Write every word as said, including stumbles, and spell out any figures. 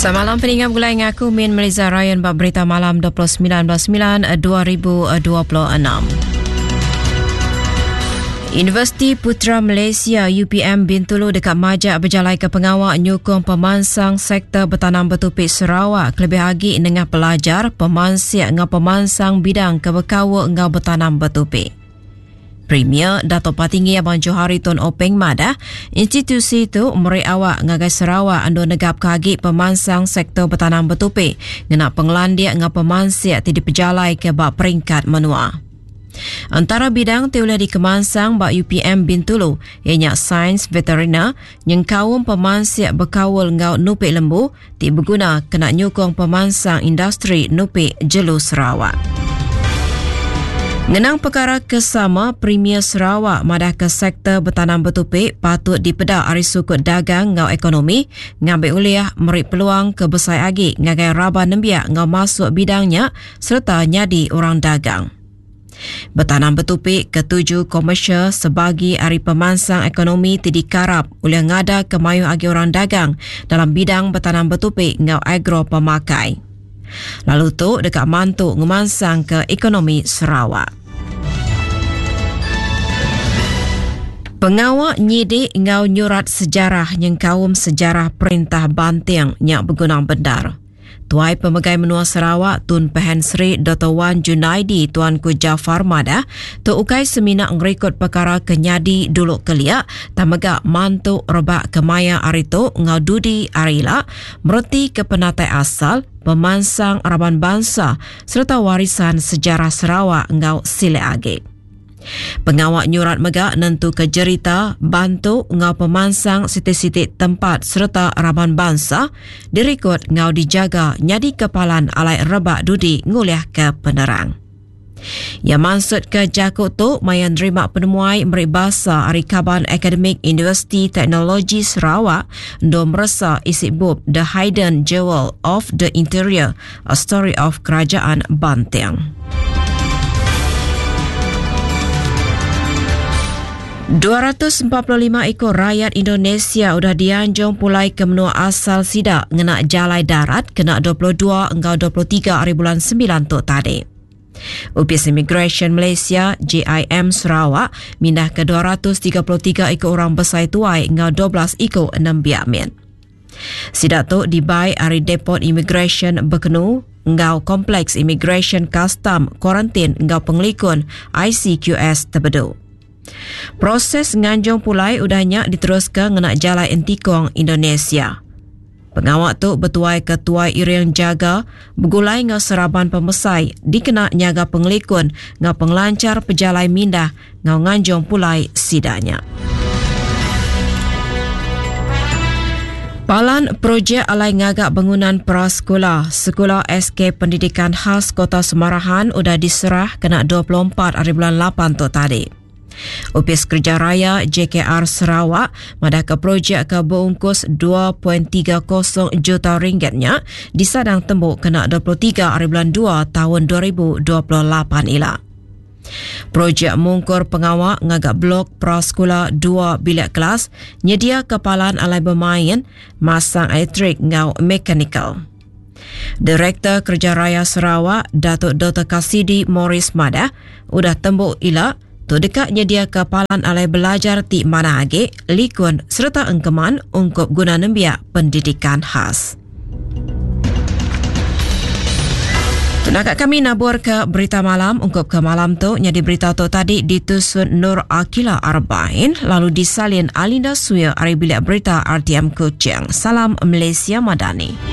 Semalam peninggal gulai ngaku Min Meliza Ryan bab berita malam dua puluh sembilan bulan sembilan dua ribu dua puluh enam. Universiti Putra Malaysia U P M Bintulu dekat majak berjalai ke pengawak nyukung pemansang sektor bertanam bertupik Sarawak kelebih agi nengah pelajar pemansik ngau pemansang bidang kebekawa ngau bertanam bertupik. Premier Dato' Patinggi Abang Johari Tun Openg madah, institusi itu meri awak ngagai Sarawak ando negap kagi pemansang sektor bertanam bertupik ngena penglandiak ngau pemansik ti dipejalai ke bak peringkat menua. Antara bidang ti ulih dikemansang bak U P M Bintulu ianya sains veterina nyengkaum pemansik berkaul ngau nupik lembu ti berguna kena nyukung pemansang industri nupik jelu Sarawak. Ngenang perkara kesama, Premier Sarawak madah ke sektor bertanam bertupik patut dipedak ari sukut dagang ngau ekonomi ngambil uliah meri peluang ke besai agi ngagai raban nembiak ngau masuk bidangnya serta nyadi orang dagang. Bertanam bertupik ketujuh komersial sebagi ari pemansang ekonomi ti dikarap oleh ngada kemayu agi orang dagang dalam bidang bertanam bertupik ngau agro pemakai. Lalu tu dekat mantu ngemansang ke ekonomi Sarawak. Pengawak nyidik ngau nyurat sejarah nyengkaum sejarah perintah Banting nyak berguna bendar. Tuai Pemegai Menua Sarawak Tun Pehin Sri Doktor Wan Junaidi Tuanku Jaafar madah tu ukai semina ngerekod perkara kenyadi dulu keliak tamega mantu rebak kemaya ari tu ngau dudi ari ila mereti ke penatai asal pemansang raban bangsa serta warisan sejarah Sarawak ngau silek agi. Pengawak nyurat mega nentu ke jerita bantu ngau pemansang siti-siti tempat serta raban bangsa direkod ngau dijaga nyadi kepalan alai rebak dudi nguliah ke penerang. Ya maksud ke jakuk tu maya nerima penemuai meri basa ari Kaban Akademik Universiti Teknologi Sarawak ndo meresa isi bub The Hidden Jewel of the Interior, A Story of Kerajaan Banting. dua ratus empat puluh lima ekor rakyat Indonesia udah dianjung pulai ke menua asal sidak ngena jalai darat kena dua puluh dua engkau dua puluh tiga hari bulan sembilan tu tadi. Ofis Immigration Malaysia J I M Sarawak mindah ke dua ratus tiga puluh tiga ekor orang besar tuai engkau dua belas ekor enam biak min. Sidak tu dibai hari Depot Immigration Bekenu engkau Kompleks Immigration Custom Kuarantin engkau Pengelikun I C Q S Tebedu. Proses nganjung pulai udahnya diteruskan ngena jalai Entikong Indonesia. Pengawak tu bertuai ke Tuai Iriang Jaga bergulai ngau seraban pemesai dikena nyaga pengelikun ngau pengelancar pejalai mindah ngau nganjung pulai sidanya. Palan projek alai ngagak bangunan prasekolah Sekolah S K Pendidikan Khas Kota Semarahan udah diserah kena dua puluh empat hari bulan lapan tu tadi. Ofis Kerja Raya J K R Sarawak madah ke projek ke berungkus dua perpuluhan tiga kosong juta ringgitnya disadang tembuk kena dua puluh tiga hari bulan dua tahun dua ribu dua puluh lapan ila. Projek mungkur pengawak ngagak blok prasekolah dua bilik kelas nyedia kepalan alai bermain masang elektrik ngau mekanikal. Direktur Kerja Raya Sarawak Datuk Doktor Kasidi Morris madah udah tembuk ila tu dekat nyedia kepalan alai belajar ti mana agi likun serta engkeman ungkup guna nembiak pendidikan khas. Tenaga kami nabur ke berita malam ungkup ke malam tu nyadi berita tu tadi ditusun Nur Akila Arbain lalu disalin Alinda Suya ari bilik berita R T M Kuching. Salam Malaysia Madani.